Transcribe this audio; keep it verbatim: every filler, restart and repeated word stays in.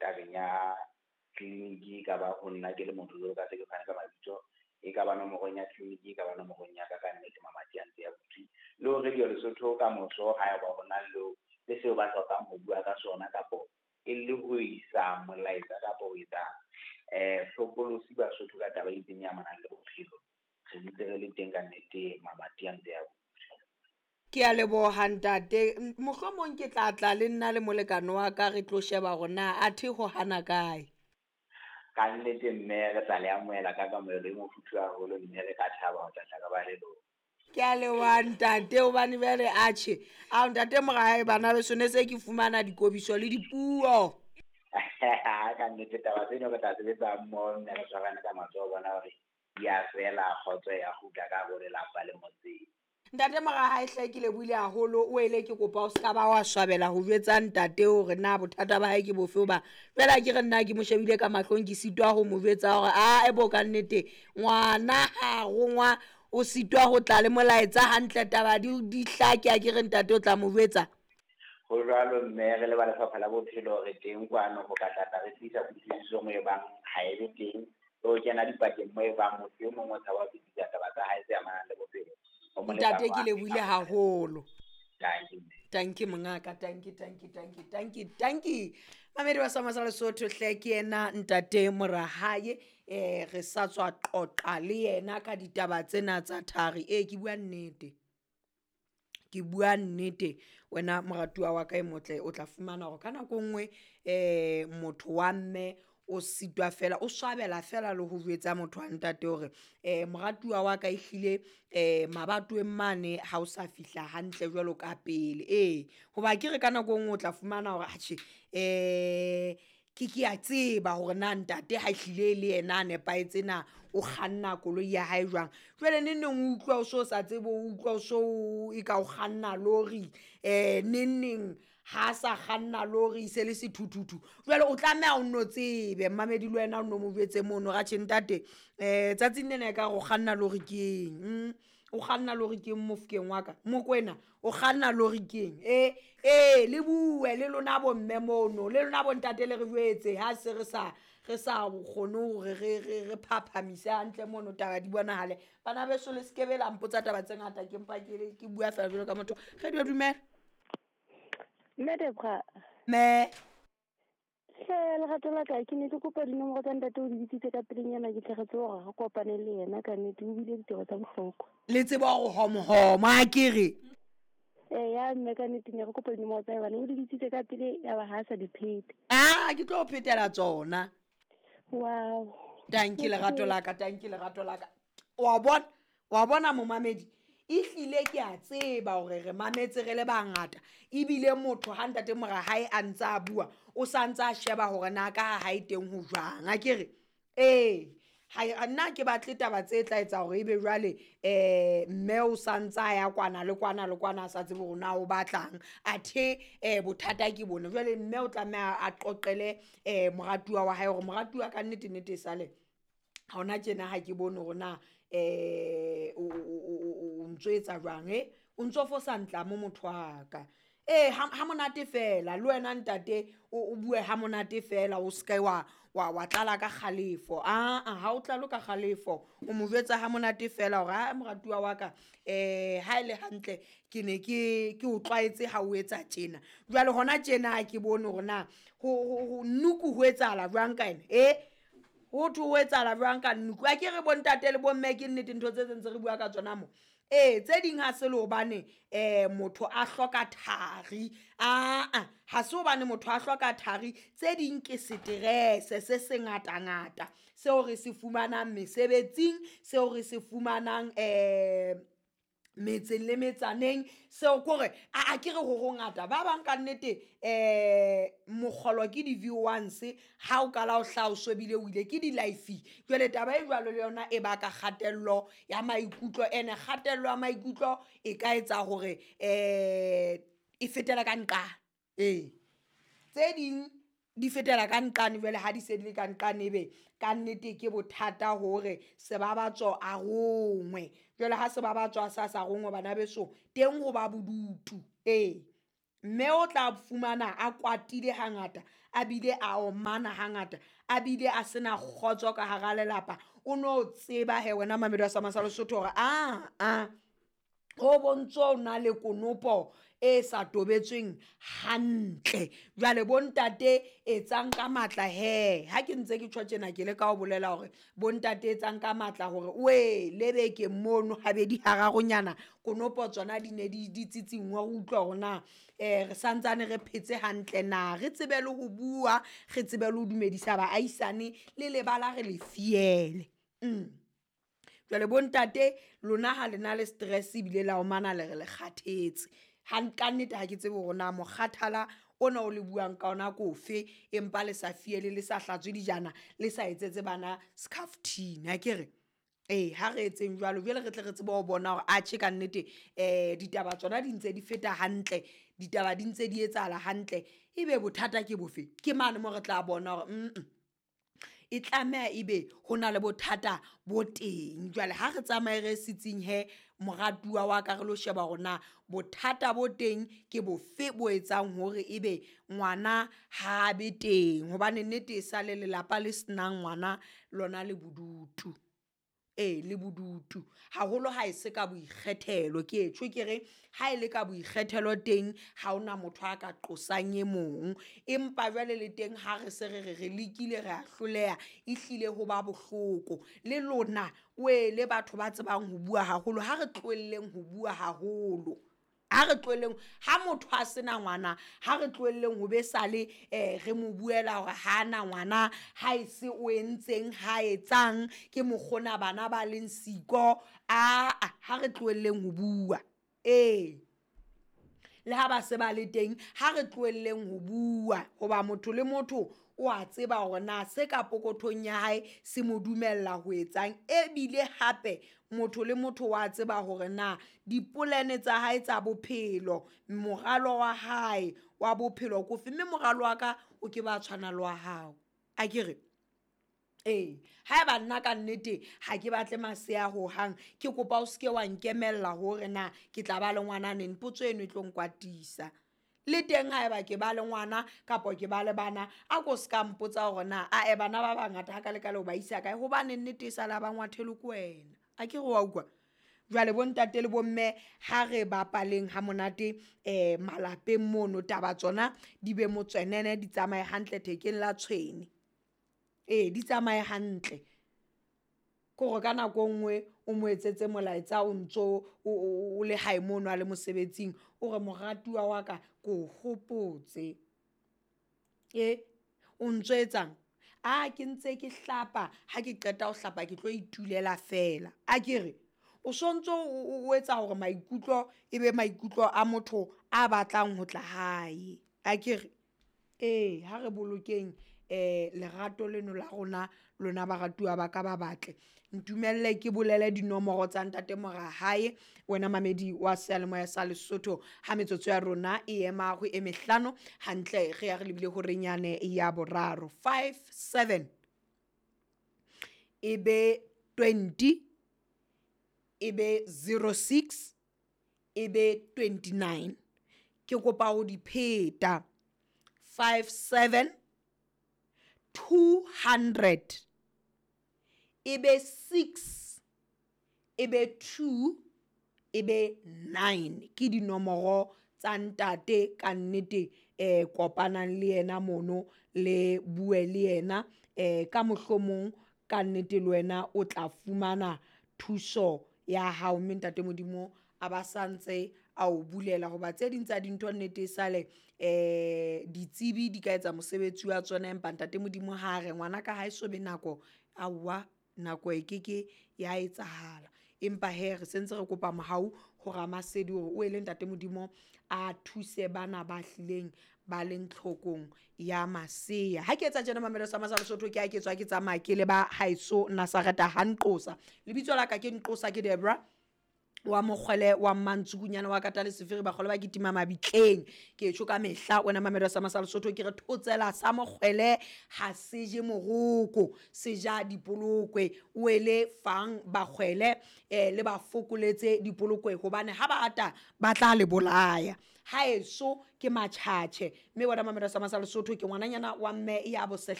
tabeng ya tleliniki, e ka ba ho nna ke le motho jwalo ka se ke fane ka mabitso, e ka ba nomorong ya tleliniki, e ka ba nomorong ya ka, ka nnete mamati a ntse a butswe. Le ho Radio Lesotho ka moso haeba ho na le le seo ba hlokang ho bua ka sona kapo e le ho isa molaetsa kapo ho etsa um hlokolosi Basotho ka taba e itseng e amanang le bophelo, re ntse re le teng ka nnete, mamati a ntse a butswe. Ke a leboha ntate. Mohlomong ke tla tla le nna le molekane wa ka re tlo sheba hore na athe ho hana kae. Ka nnete mme re tla le amohela ka kamohelo e mofuthu haholo, mme re ka thaba ho tla tla ka ba le lona. Ke a leboha ntate, hobane jwale atjhe, ao ntate Morahae bana beso ne se ke fumana dikobiso le dipuo. Ka nnete taba tseno re tla sebetsa mmoho, mme re tshwarane ka matsoho bona hore di a fela, kgotso ya kgutla ka hare ho lelapa le motseng. Ntate Morahae hle ke lebohile haholo, o ele ke kopa o ska ba wa swabela ho jwetsa ntate hore na bothata ba hae ke bofe, hoba fela ke re nna ke mo shebile ka mahlong, ke sitwa ho mo jwetsa hore ae bo ka nnete ngwana ha rongwa o sitwa ho tla le molaetsa hantle, taba di di hlake, a ke re ntate o tla mo jwetsa. Ho jwalo mme, re le ba Lefapha la Bophelo re teng kwano ho ka tlatla re tlisa kutlwisiso mo e bang ha e be teng, le ho kena dipakeng mo e bang motho e mong o tshaba ho fetisa taba tsa hae tse amanang le bophelo. Ntate ke lebohile haholo. Tanki mme. Tanki mongaka, tanki, tanki, tanki, tanki, tanki. Mamedi wa Sama sa Lesotho hle ke yena ntate Morahae, eh re sa tswa qoqa le yena ka ditaba tsena tsa thari. Eh ke bua nnete. Ke bua nnete wena moratuwa wa ka e motle, o tla fumana hore ka nako e nngwe eh motho wa mme o sitwa fela, o swabela fela le ho jwetsa motho wa ntate hore eh moratuwa wa ka ehlile eh mabatoweng mane ha o sa fihla hantle jwalo ka pele. Ee, hoba ke re ka nako e nngwe o tla fumana hore atjhe eh ke ke a tseba hore na ntate ha ehlile le yena a nepahetse na o kganna koloi ya hae jwang. Jwale neng neng o utlwa o so sa tsebe, o utlwa o so e ka o kganna lori, eh neng neng ha sa kganna lori se le sethuthuthu. Jwale o tlameha o nno tsebe mmamedi le wena o nno mo jwetse mono hore atjhe ntate eh tsatsing lena ekare o kganna lori ke eng, o kganna lori ke eng mofokeng wa ka, Mokoena o kganna lori ke eng. Eh eh le bue le lona bomme mono, le lona bontate le re jwetse ha se re sa re sa kgone hore re re re phaphamise hantle mono taba di bonahale. Bana beso le skebe la mpotsa taba tse ngata, ke mpa ke ke bua fela jwalo ka motho. Re di dumela. Mme Debra. Me. Hle lerato la ka, ke ne ke kopa dinomoro tsa ntate o di bitsitse ka pelenyana, ke tle re tsebe hore re kopane le yena ka nnete, o bile ditaba tsa bohlokwa. Le tseba hore homohomo a ke re. Eh ya mme ka nnete ne re kopa dinomoro tsa hae, o di bitsitse ka pele ya ba ha sa di phete. Ah, ke tlo phetela tsona. Wow. Tanki lerato la ka, tanki lerato la ka. Wa bona, wa bona momamedi. Ehlile ke a tseba hore re mametse re le bangata, ebile motho ha ntate Morahae a ntse a bua o sa ntse a sheba hore na ka ha hae teng ho jwang. A ke re ee, ha nna ke batle taba tse tla etsa hore ebe jwale eh mme o sa ntse a ya kwana le kwana le kwana a sa tsebe hore na o batlang, athe eh bothata ke bone. Jwale mme o tlameha a qoqele eh moratuwa wa hae hore moratuwa ka nnete nnete e sale ha hona tjena ha ke bone hore na eh o o ntso etsa jwang, eh o ntso fosa ntla mo motho wa ka. Eh ha monate fela le wena ntate o bue ha monate fela, o ska wa wa wa tlala ka kgalefo. Ah ha o tlalo ka kgalefo, o mo jwetsa ha monate fela hore ha moratuwa wa ka eh ha ile hantle ke ne ke ke o tlwaetse ha o etsa tjena. Jwale hona tjena ha ke bone hore na ho nnuku ho etsahala jwang ka ena, eh ho thwe ho etsahala jwang ka nnuku. A ke re bontate le bomme ke nnete ntho tse tse re bua ka tsona mo. Eh tse ding ha se le hobane eh motho a hloka thari, a a ha se hobane motho a hloka thari, tse ding ke stress se se ngata ngata seo re se fumanang mesebetsing, seo re se fumanang eh metseng le metsaneng, seo kore a a ke re ho hongata ba bang ka nnete eh mokgolo ke di V ones ha o kala o hlaha o shebile o ile ke di life. Jwale taba e jwalo le yona e baka kgatello ya maikutlo, ene kgatello ya maikutlo e ka etsa hore eh e fetela ka nqane. Ee tse ding di fetela ka nqane, jwale ha di se di le ka nqane ebe ka nnete ke bothata hore sebabatso a rongwe. Jwale ha sebabatso a sa sa rongwe bana beso teng ho ba bodutu. Ee Mme o tla fumana a kwatile hangata, a bile a omana hangata, a bile a sena kgotso ka hara lelapa. O no tseba he wena mamedi wa Sama sa Lesotho hore a a ho bontso o na le konopo e sa tobetsweng hantle. Jwale bontate etsang ka matla he, ha ke ntse ke tjho tjena ke leka ho bolela hore bontate etsang ka matla hore we le beke mono habedi hararonyana konopo tsona di ne di di tsitsingwe re utlwa hore na um re santsane re phetse hantle na, re tsebe le ho bua, re tsebe le ho dumedisa baahisane le lebala re le fiele. Mm. Jwale bontate lona ha le na le stress ebile la omana le re le kgathetse. Ka nnete ha ke tsebe hore na mokgathala ona o le buang ka ona ke ofe, empa le sa fiele, le sa hlatswe dijana, le sa etsetse bana skhafthini akere. Ee, ha re etseng jwalo jwale re tle re tsebe ho bona hore atjhe ka nnete um ditaba tsona di ntse di feta hantle, ditaba di ntse di etsahala hantle, ebe bothata ke bofe? Ke mane moo re tla bona hore mm e tlameha ebe ho na le bothata bo teng. Jwale ha re tsamaye re setsing he moratuwa wa ka re lo sheba hore na bothata bo teng ke bofe bo etsang hore ebe ngwana ha be teng, hobane nnete e sale lelapa le senang ngwana lona le bodutu. Ee, le bodutu haholo ha e se ka boikgethelo, ke tjho ke re ha e le ka boikgethelo teng ha hona motho a ka qosang e mong, empa jwale le teng ha re se re re re lekile re a hloleha, ehlile ho ba bohloko. Le lona wele batho ba tsebang ho bua haholo, ha re tlohelleng ho bua haholo, ha re tlohelleng ha motho a sena ngwana, ha re tlohelleng ho be sale um re mo buela hore ha na ngwana, ha e se o entseng ha etsang ke mokgona bana ba leng siko. Aa, ha re tlohelleng ho bua. Ee, le ha ba se ba le teng ha re tlohelleng ho bua, hoba motho le motho o a tseba hore na se ka pokothong ya hae se mo dumella ho etsang, ebile hape motho le motho wa tseba hore na dipolane tsa hae tsa bophelo, moralo wa hae wa bophelo ke ofe, mme moralo wa ka o ke ba tshwana le wa hao akere. Ee, haeba nna ka nnete ha ke batle masea hohang, ke kopa o seke wa nkemella hore na ke tla ba le ngwana neng, potso eno e tlo nkwatisa. Le teng haeba ke ba le ngwana kapa ke ba le bana, a ko ska mpotsa hore na ae bana ba bangata ha ka le ka le o ba isa kae, hobane nnete e sala ba ngwathelwe ke wena. Akere wa utlwa? Jwale bontate le bomme ha re bapaleng ha monate um malapeng mono, taba tsona di be motswenene, di tsamaye hantle thekeng la tshwene. Ee, di tsamaye hantle. Ke hore ka nako e nngwe o mo etsetse molaetsa o ntso o le hae mono a le mosebetsing, o re moratuwa wa ka ke o hopotse. E, o ntso etsang? A ke ntse ke hlapa, ha ke qeta ho hlapa ke tlo itulela fela. Akere o sontso o etsa hore maikutlo e be maikutlo a motho a batlang ho tla hae. Akere ee, ha re bolokeng um lerato leno la rona lona baratuwa ba ka ba batle. Ntumelle ke bolele dinomoro tsa ntate Morahae, wena mamedi wa seyalemoya sa Lesotho, ha metsotso ya rona e ema ho e mehlano hantle, re ya re lebile horeng yane ya boraro. Five seven e be twenty, e be zero six, e be twenty nine. Ke kopa ho di pheta. Five seven two hundred e be six, e be two, e be nine. Ke dinomoro tsa ntate ka nnete, eh kopanang le yena mono le bue le yena eh ka mohlomong ka nnete le wena o tla fumana thuso ya hao, mme ntate Modimo a ba santse a o bulela, hoba tse ding tsa dintho nnete e sale eh ditsebi di ka etsa mosebetsi wa tsona, empa ntate Modimo ha re ngwana ka ha e so be nako, aowa nako e keke ya etsahala. Empa he re sentse re kopa mohau ho Ramasedi hore o ele ntate Modimo a thuse bana ba hlileng ba leng tlhokong ya masea. Ha ke etsa tjena mamelo sa Masa Lesotho, ke ha ke tswa ke tsamaya ke le ba haeso Nazareta ha Nqosa. Lebitso la ka ke Nqosa, ke Debra wa mokgwele wa Mmantsukunyana wa kata le sefiri, bakgole ba kitima mabitleng. Ke tjho ka mehla wena mamelo sa Masa Lesotho, ke re thotsela sa mokgwele ha se je moroko, se ja dipolokwe. O ele fang bakgwele eh le ba fokoletse dipolokwe, hobane ha ba ata ba tla le bolaya. Haeso ke Matjhatjhe, mme wena mamelo sa masa Lesotho, ke ngwananyana wa mme ya bosehle.